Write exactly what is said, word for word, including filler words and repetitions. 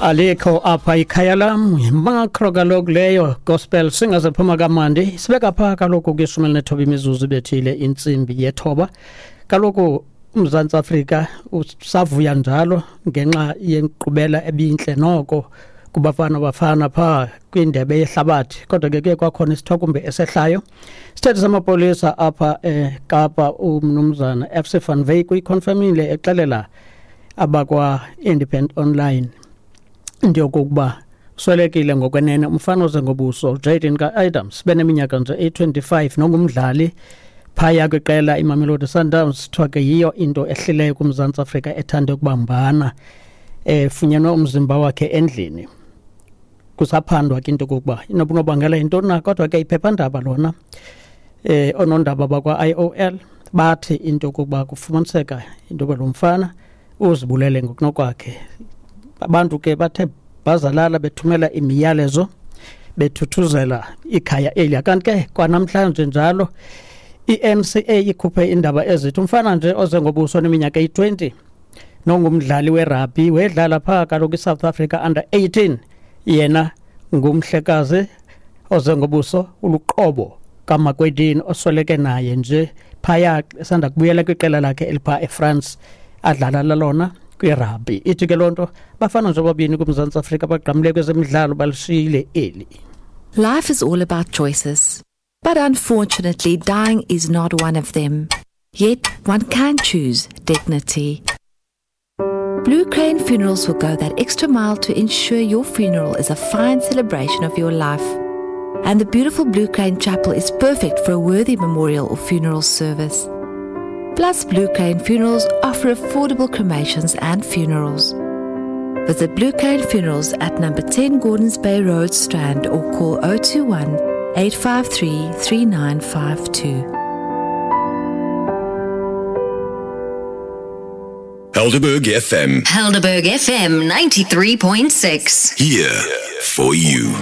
Alikho apha ikhaya lam, makro kaloku leyo gospel singazephuma kamandi. Sibeka pha kaloku kwishumi elinethoba imizuzu ibethile intsimbi yethoba. Kaloku uMzantsi Afrika usavuya njalo ngenxa yenkqubela ebintle noko kubafana bafana pha kwindebe yehlabathi, kodwa ke kuye kwakhona isithokumbe esehlayo. Isithethi samapolisa apha eKapa umnumzana F C van Wyk uyikhonfemile exelela abakwa-Independent Online into yokokuba uswelekile ngokwenene umfana oze ngobuso Jaden ka-Adams beneminyaka nje eyi-twenty-five nongumdlali phaya kwiqela iMamelodi Sundowns. Kuthiwa ke yiyo into ehlileyo kuMzantsi Afrika ethande ukubambana, efunyenwe umzimba wakhe endlini. Kusaphandwa ke into yokokuba inobunobangela yintoni na, kodwa ke iphephandaba lona eh oonondaba bakwa-I O L bathi into yokokuba kufumaniseka into yokuba lo mfana uzibulele ngokunokwakhe. Abantu ke bathe bazalala bethumela imiyalezo bethuthuzela ikhaya eliya. Kanti ke kwanamhlanje njalo i-N C A ikhuphe indaba ezithi umfana nje oze ngobuso neminyaka eyi-twenty nongumdlali werugby wedlala phaa kaloku iSouth Africa under eighteen, yena ngumhlekazi oze ngobuso uluqobo kaMakwedini osweleke naye nje phaya esanda kubuyela kwiqela lakhe eliphaa eFrance adlala lalona kwirugby. Ithi ke loo nto bafana nje bobabini kuMzantsi Afrika bagqamile kwezemidlalo balishiyile eli. Life is all about choices, but unfortunately dying is not one of them. Yet one can choose dignity. Blue Crane Funerals will go that extra mile to ensure your funeral is a fine celebration of your life. And the beautiful Blue Crane Chapel is perfect for a worthy memorial or funeral service. Plus, Blue Crane Funerals offer affordable cremations and funerals. Visit Blue Crane Funerals at number ten Gordons Bay Road, Strand, or call oh two one, eight five three, three nine five two. Helderberg F M. Helderberg F M ninety-three point six. Here for you.